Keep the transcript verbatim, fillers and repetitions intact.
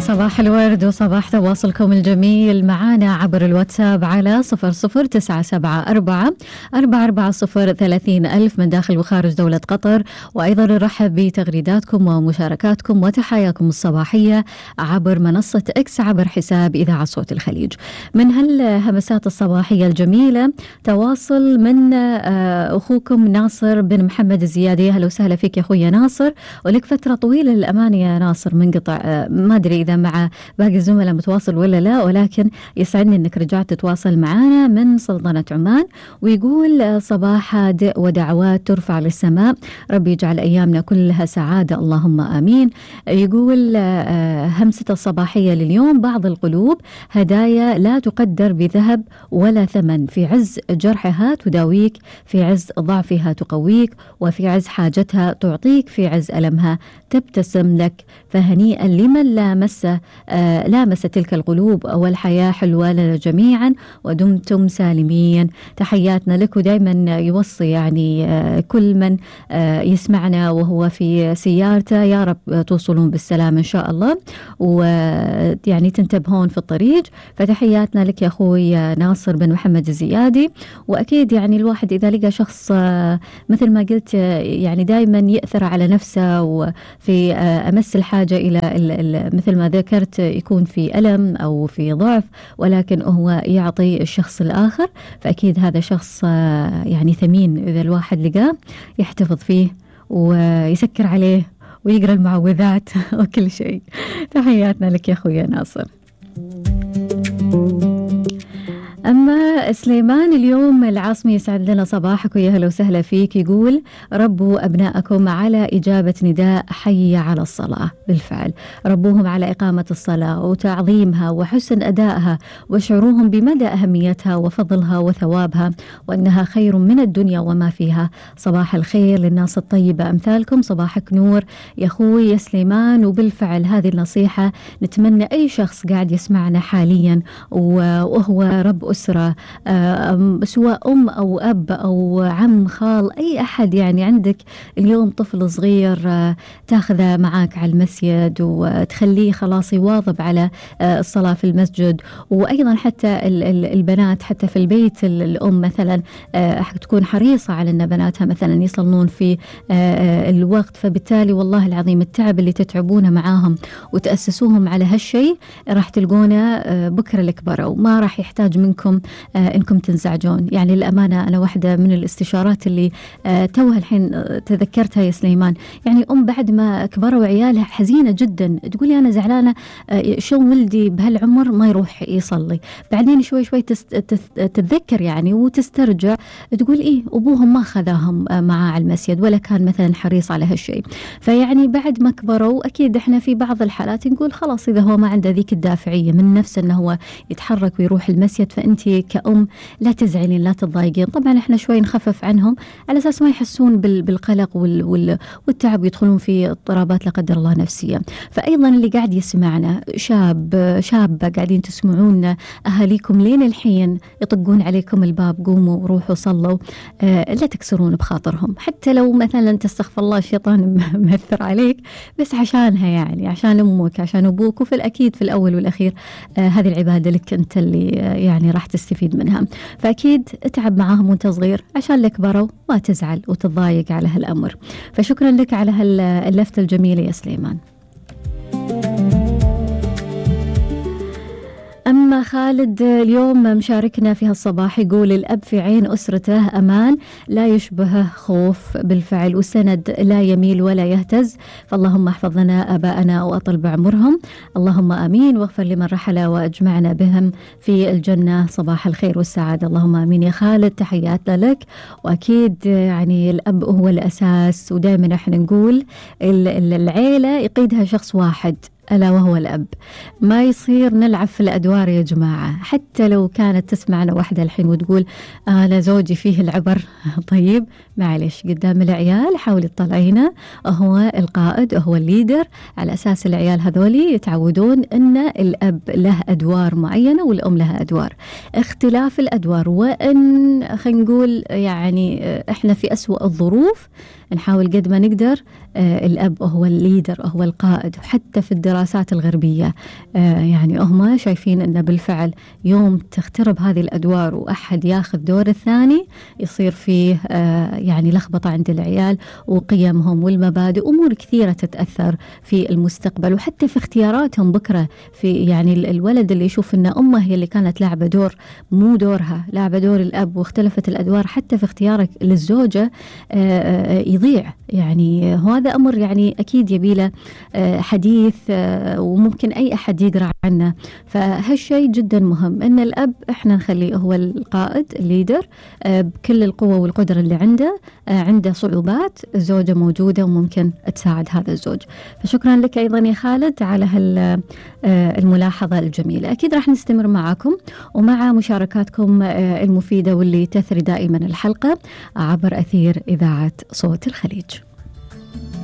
صباح الورد وصباح تواصلكم الجميل معنا عبر الواتساب على صفر صفر تسعة سبعة أربعة أربعة أربعة صفر ثلاثين ألف من داخل وخارج دولة قطر. وأيضا نرحب بتغريداتكم ومشاركاتكم وتحاياكم الصباحية عبر منصة إكس عبر حساب إذاعة صوت الخليج. من هالهمسات الصباحية الجميلة تواصل من أخوكم ناصر بن محمد الزيادي. أهلا وسهلا فيك يا أخوي ناصر، ولك فترة طويلة للأمانة يا ناصر منقطع، ما أدري إذا مع باقي الزملاء متواصل ولا لا، ولكن يسعدني أنك رجعت تتواصل معنا من سلطنة عمان. ويقول صباح هادئ ودعوات ترفع للسماء، ربي يجعل أيامنا كلها سعادة اللهم آمين. يقول همسة الصباحية لليوم: بعض القلوب هدايا لا تقدر بذهب ولا ثمن، في عز جرحها تداويك، في عز ضعفها تقويك، وفي عز حاجتها تعطيك، في عز ألمها تبتسم لك. فهنيئا لمن لامس آه لامس تلك القلوب، والحياة حلوة لنا جميعا ودمتم سالمين. تحياتنا لك، ودائما يوصي يعني آه كل من آه يسمعنا وهو في سيارته يا رب توصلون بالسلام إن شاء الله، ويعني تنتبهون في الطريق. فتحياتنا لك يا أخوي ناصر بن محمد الزيادي. وأكيد يعني الواحد إذا لقى شخص آه مثل ما قلت يعني دائما يأثر على نفسه وفي آه أمس الحاجة إلى مثل ما ذكرت يكون في ألم أو في ضعف، ولكن هو يعطي الشخص الآخر، فأكيد هذا شخص يعني ثمين إذا الواحد لقاه يحتفظ فيه ويسكر عليه ويقرأ المعوذات وكل شيء. تحياتنا لك يا أخوي ناصر. أما سليمان اليوم العاصمي يسعد لنا صباحك ويا هلا وسهلا فيك. يقول: ربوا أبناءكم على إجابة نداء حي على الصلاة. بالفعل ربوهم على إقامة الصلاة وتعظيمها وحسن أدائها، وشعروهم بمدى أهميتها وفضلها وثوابها، وأنها خير من الدنيا وما فيها. صباح الخير للناس الطيبة أمثالكم، صباحك نور يا أخوي يا سليمان. وبالفعل هذه النصيحة نتمنى أي شخص قاعد يسمعنا حاليا وهو رب أسرة، سواء أم أو أب أو عم خال أي أحد، يعني عندك اليوم طفل صغير تاخذه معاك على المسجد وتخليه خلاص يواظب على الصلاة في المسجد. وأيضا حتى البنات حتى في البيت الأم مثلا تكون حريصة على أن بناتها مثلا يصلون في الوقت. فبالتالي والله العظيم التعب اللي تتعبونه معاهم وتأسسوهم على هالشيء راح تلقونه بكرة الكبر، وما راح يحتاج منكم آه إنكم تنزعجون. يعني الأمانة أنا واحدة من الاستشارات اللي آه توها الحين آه تذكرتها يا سليمان. يعني أم بعد ما كبروا عيالها حزينة جدا، تقولي أنا زعلانة آه شو ولدي بهالعمر ما يروح يصلي. بعدين شوي شوي تتذكر يعني وتسترجع، تقول إيه أبوهم ما خذاهم آه معاه على المسجد ولا كان مثلا حريص على هالشيء. فيعني بعد ما كبروا أكيد إحنا في بعض الحالات نقول خلاص إذا هو ما عنده ذيك الدافعية من نفسه أنه هو يتحرك ويروح المسجد، فأنت كأم لا تزعلين لا تضايقين. طبعا احنا شوي نخفف عنهم على اساس ما يحسون بالقلق والتعب ويدخلون في اضطرابات لا قدر الله نفسيه. فايضا اللي قاعد يسمعنا شاب شابه قاعدين تسمعون اهاليكم لين الحين يطقون عليكم الباب قوموا وروحوا صلوا، آه لا تكسرون بخاطرهم، حتى لو مثلا تستغفر الله الشيطان مأثر عليك، بس عشانها يعني عشان امك عشان ابوك. وفي الاكيد في الاول والاخير آه هذه العباده لك انت اللي آه يعني راح تستفيد منها. فأكيد اتعب معاهم وانت صغير عشان لك بروا ما تزعل وتضايق على هالأمر. فشكرا لك على هاللفتة الجميلة يا سليمان. أما خالد اليوم مشاركنا في هالصباح يقول: الأب في عين أسرته أمان لا يشبهه خوف. بالفعل وسند لا يميل ولا يهتز. فاللهم احفظ لنا آباءنا وأطل بعمرهم اللهم آمين، واغفر لمن رحل وأجمعنا بهم في الجنة. صباح الخير والسعادة اللهم آمين يا خالد. تحياتنا لك. وأكيد يعني الأب هو الأساس، ودائما احنا نقول العيلة يقيدها شخص واحد ألا وهو الأب. ما يصير نلعب في الأدوار يا جماعة. حتى لو كانت تسمعنا واحدة الحين وتقول أنا زوجي فيه العبر طيب معلش قدام العيال حاولي تطلعينا هو القائد هو الليدر، على أساس العيال هذولي يتعودون أن الأب له أدوار معينة والأم لها أدوار. اختلاف الأدوار، وأن خلينا نقول يعني إحنا في أسوأ الظروف نحاول قد ما نقدر الأب هو الليدر، هو القائد. وحتى في الدراسات الغربية يعني هم شايفين أن بالفعل يوم تخترب هذه الأدوار وأحد ياخذ دور الثاني يصير فيه يعني لخبطة عند العيال، وقيمهم والمبادئ أمور كثيرة تتأثر في المستقبل، وحتى في اختياراتهم بكرة. في يعني الولد اللي يشوف أن أمه هي اللي كانت لاعبة دور مو دورها، لاعبة دور الأب، واختلفت الأدوار حتى في اختيارك للزوجة يضيع. يعني هذا أمر يعني أكيد يبيله حديث وممكن أي أحد يقرأ عنه. فهالشيء جدا مهم أن الأب إحنا نخليه هو القائد الليدر بكل القوة والقدرة اللي عنده. عنده صعوبات، الزوجة موجودة وممكن تساعد هذا الزوج. فشكرا لك أيضا يا خالد على هالملاحظة الجميلة. أكيد راح نستمر معكم ومع مشاركاتكم المفيدة واللي تثري دائما الحلقة عبر أثير إذاعة صوت الخليج.